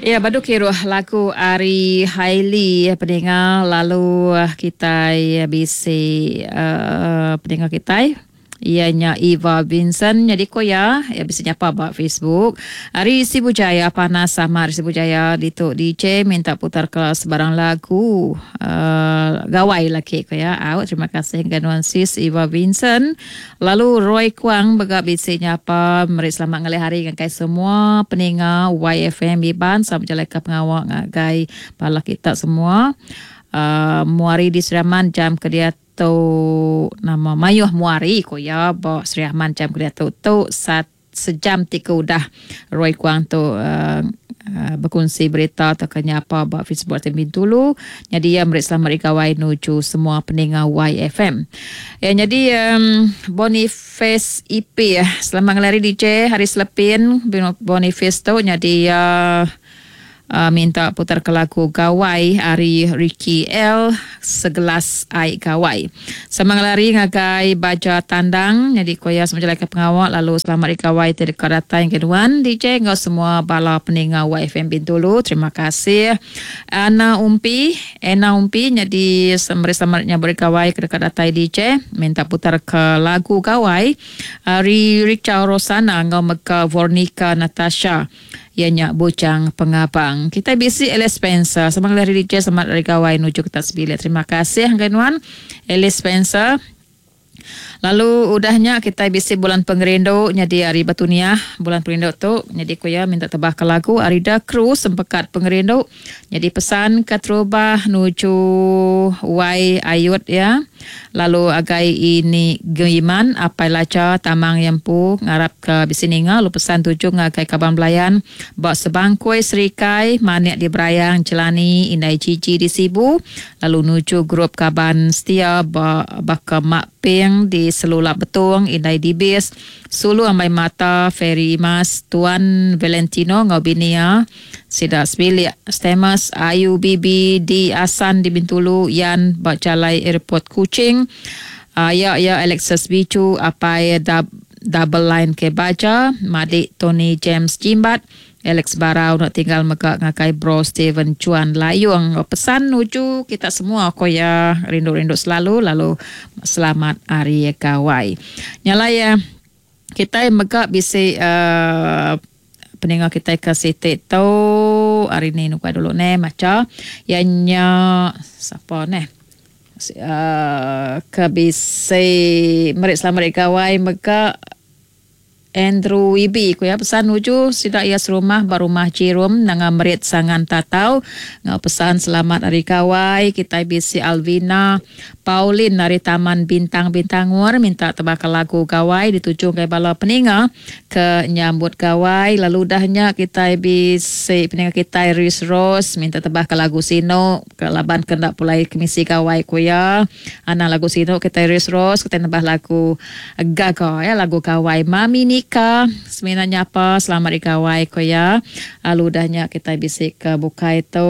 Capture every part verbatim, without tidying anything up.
Ya badu kiruh lagu ari Hailey peninga lalu kitai bisi uh, peninga kitai iya nya Eva Vincent jadi ko ya ya bisi nyapa ba Facebook ari Sibu Jaya panas sama ari Sibu Jaya ditu D J minta putar ke sebarang lagu uh, gawai laki ko ya. Au terima kasih ngagai sis Eva Vincent. Lalu Roy Kuang bega bisi nyapa meri selamat ngalih hari ngagai semua peninga Y F M Iban sama jalai ke pengawa ngagai bala kita semua. Uh, muari di Seraman jam ke dia tu nama mayuh muari ko ya ba Sri Aman jam ke dia tu tu sat sejam tiga udah Roy Kuang tu uh, uh, berkongsi berita atau kenyapa ba Facebook T Bintulu. Jadi ya meri selamat hari gawai nuju semua peninga Y F M. Ya jadi um, Boniface E P ya. Selamat ngalih hari D J hari Selepin Boniface tu jadi uh, Uh, minta putar ke lagu Gawai ari Ricky L segelas air gawai. Sama ngelari ngagai baja tandang jadi koya semenjalai ke pengawal lalu selamat hari gawai terdekat datang keduan D J ngau semua bala peninga Y F M Bintulu. Terima kasih. Ana Umpi, Ena Umpi jadi semeri selamatnya bergawai kedekat datai D J minta putar ke lagu Gawai ari Richard Rosana ngau mega Vornika Natasha. Ianya Bujang Pengabang. Kita bisi Alice Spencer. Sama dari D J selamat hari gawai nuju kita sebilik. Terima kasih Angganuan Alice Spencer. Lalu udahnya kita bisi bulan pengerindu jadi hari Batuniah bulan pengerindu tu jadi ku ya minta tebah ke lagu Arida Kru sempekat pengerindu jadi pesan ke terubah nuju Y Ayut ya. Lalu agai ini Giman apai laca tamang yempu ngarap ke bisi ninga lalu pesan tuju ngagai kaban belayan bak sebangkui Serikai manik di Berayang Jelani Indai Gigi di Sibu lalu nuju grup kaban setia bak baka Mak Ping di Selulap Betung Indai Dibis Sulu Ambai Mata Ferry Imas Tuan Valentino ngau binia Sida Sebilik Stemas Ayu Bibi di Asan di Bintulu Yan bak Jalai Airport Kuching Aya ya Alexis Bicu apai dab, double line ke baja Madik Tony James Jimbat Alex Barau nak tinggal megak ngakai bro Steven Chuan Layung. Pesan nuju kita semua ko ya rindu-rindu selalu lalu selamat hari gawai. Nyala ya kita megak bisi uh, peninga kita ke sitik tu hari ni nukai dulu ne maca ianya siapa ne uh, ke bisi merik selamat hari gawai megak Andrew Ibi ku ya pesan nuju sidak ia serumah barumah Cirum nanga merit sangan tatau ngau pesan selamat hari gawai kita bisi Alvina Pauline dari Taman Bintang Bintangur minta tebak lagu gawai dituju ke bala peninga ke nyambut gawai lalu dahnya kita bisi peninga kita Iris Rose minta tebak lagu Sino ke laban kendak pulai kemisi gawai ku ya ana lagu Sino kita Iris Rose kita nebah lagu Gaga ya lagu gawai Mami Nika seminanya apa selamat hari gawai ko ya lalu dahnya kita bisi ke bukai tu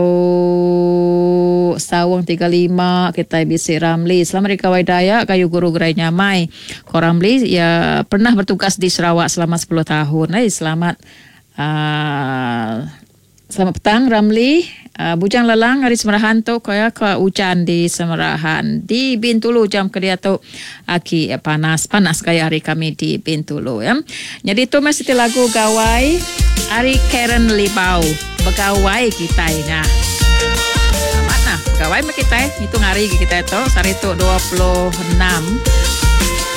Sawung tiga lima kita bisi Ramli selamat hari gawai Dayak kayu guru gerai nyamai ko Ramli ya pernah bertugas di Sarawak selama sepuluh tahun. Eh selamat uh, selamat petang Ramli. Uh, Bujang Lelang hari Semerahan tu ko ya ke hujan di Semerahan di Bintulu jam ke dia tu aki panas panas gaya hari kami di Bintulu ya. Jadi tu masih lagu gawai hari Karen Libau begawai kita nya. Selamat nah gawai mah kita hitung hari kita tu hari tu dua puluh enam